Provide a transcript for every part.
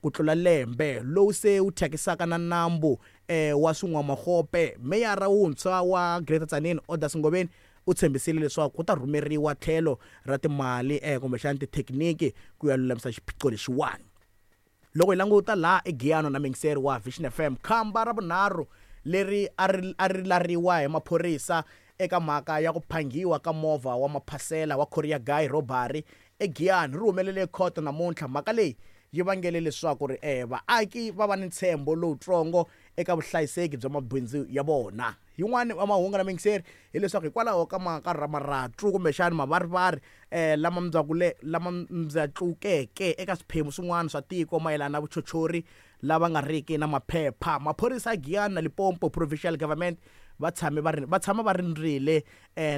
ku tlula lembe, lowu se wu thyakisaka na nambu wa Swin'wamagope. Meyara wuntshwa wa Greater Tzaneen, Odas Ngobeni, u tshembisile leswaku ku ta rhumeriwa tlhelo ra timali kumbexana tithekiniki ku ya lulamisa xiphiqo lexiwani. Loko hi languta laha eGiyani na muyingiseri wa Vision FM, khamba ra vunharhu leri a ri a ri lariwa hi maphorisa eka mhaka ya ku phanghiwa ka movha wa maphasela wa Courier Guy Robbery eGiyani ri humelele ekhoto namuntlha. Mhaka leyi yi vangele leswaku ri vaaki va va ni ntshembo lowutsongo eka vuhlayiseki bya mabindzu ya vona. Yin'wana ya mahungu na muyingiseri hileswaku hikwalaho ka marhatlu kumbexana mavarivari lama mbyakule lama mbyatlukeke eka swiphemu swin'wana swa tiko mayelana na vuchochori lava nga riki na maphepha, maphorisa ya Giyani na Limpopo Provincial Government va tshame va ri va tshama va rindzile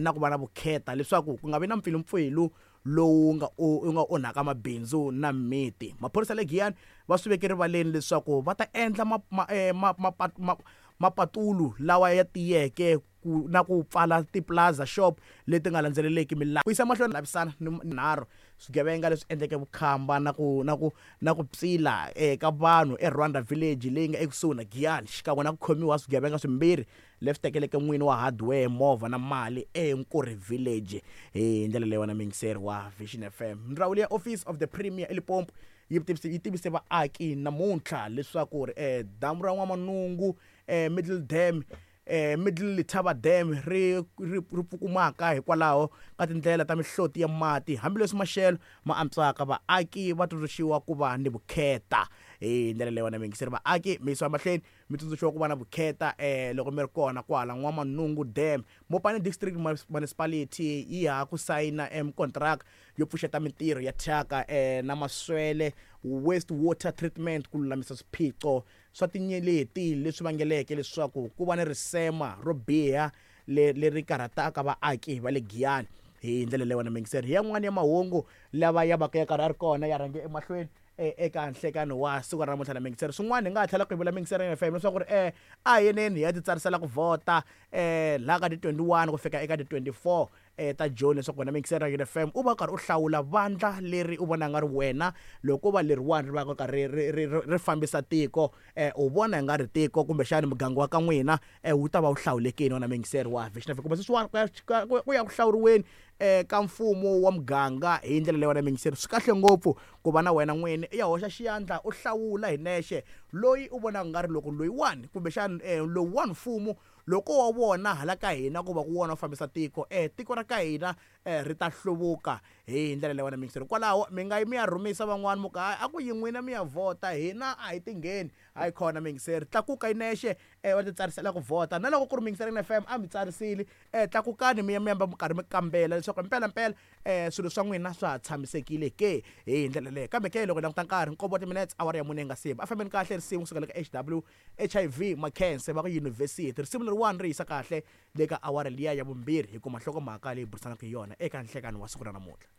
na ku va na vukheta leswaku ku nga vi na mpfilumpfilu lowu nga wu nga onhaka mabindzu na miti. Maphorisa le Giyani va swi veke rivaleni leswaku va ta endla ma ma ma ma ma mapatulu lawa ya tiyeke ku na ku pfala ti-plaza shop leti nga landzeleleki milawu. Ku yisa mahlweni lavisana ni nharhu swigevenga leswi endleke vukhamba na ku na ku na ku psila eka vanhu eRwanda Village leyi nga ekusuhi na Giyani xikan'we na ku khomiwa swigevenga swimbirhi leswi tekeleke n'wini wa hardware movha na mali eNkurhi Village. Hi ndlela leyi wena muyingiseri wa Vision FM, ndzawulo ya Office of the Premier eLimpopo yi tivise yi tivise vaaki namuntlha leswaku ri damu ra N'wamanungu Middle Dam Middle Letaba Dam ri ri ri pfukumaka hikwalaho ka tindlela ta mihloti ya mati. Hambileswi maxelo ma antswaka, vaaki va tsundzuxiwa ku va ni vukheta. Hi ndlela leyi wena muyingiseri, vaaki mi yisiwa emahlweni mi tsundzuxiwa ku va na vukheta loko mi ri kona kwala N'wamanungu Dam. Mopani District Municipality yi ha ku sayina kontiraka yo pfuxeta mintirho ya thyaka na maswele, waste water treatment, ku lulamisa swiphiqo swa tinyeleti leswi vangeleke leswaku ku va ni risema ro biha leri karhataka vaaki va le Giyani. Hi ndlela leyi wena muyingiseri, hi yan'wana ya mahungu lava ya vaka ya karhi ya ri kona ya rhange emahlweni eka nhlekani wa siku ra namuntlha na muyingiseri. Swin'wana hi nga ha tlhela ku hi vula muyingiseri FM leswaku ri a hi yeneni hi ya titsarisela ku vhota laha ka ti 21 ku fika eka ti 24 ta Joni leswaku wena muyingiseri wa FM u va u karhi u hlawula vandla leri u vona nga ri wena loko ko va leriwani ri va ka ri ri ri ri fambisa tiko u vona hi nga ri tiko kumbexani muganga wa ka n'wina wu ta va wu hlawulekile wena muyingiseri wa Vision FM kumbe sweswiwani ku ya ku ya ku hlawuriweni ka mfumo wa muganga hi ndlela leyi wena muyingiseri swi kahle ngopfu ku va na wena n'wini i ya hoxa xiyandla u hlawula hi nexe loyi u vonaka nga ri loko loyiwani kumbexani lowuwani mfumo Loko wa vona hala ka hina ku va ku wona wu fambisa tiko, e tiko ra ka hina e ri ta hluvuka hi ndlela leyi wena miyingiseri. Kwalaho mi nga yi mi ya rhumisa van'wana mi ku hayi a ku yi n'wina mi ya vhota hina a hi tingheni. Hayi khona miyingiseri, tlakuka yi nexe e va titsarisela ku vhota. Na loko ku ri miyingiseri FM a mi tsarisile, e tlakukani mi ya mi ya mi karhi mi kambela leswaku mpelampela swilo swa n'wina swa ha tshamisekile ke hi ndlela leyo. Kambe ke loko hi languta nkarhi nkombo wa timinetse awara ya mune yi nga si ba. A fambeni kahle risimu kusuka le ka H_W. HIV Makhense va ku yunivhesiti. Risimu leriwani ri yisa kahle le ka awara liya ya vumbirhi hi kuma nhlokomhaka leyi burisanaka hi yona eka nhlekani wa siku ra namuntlha.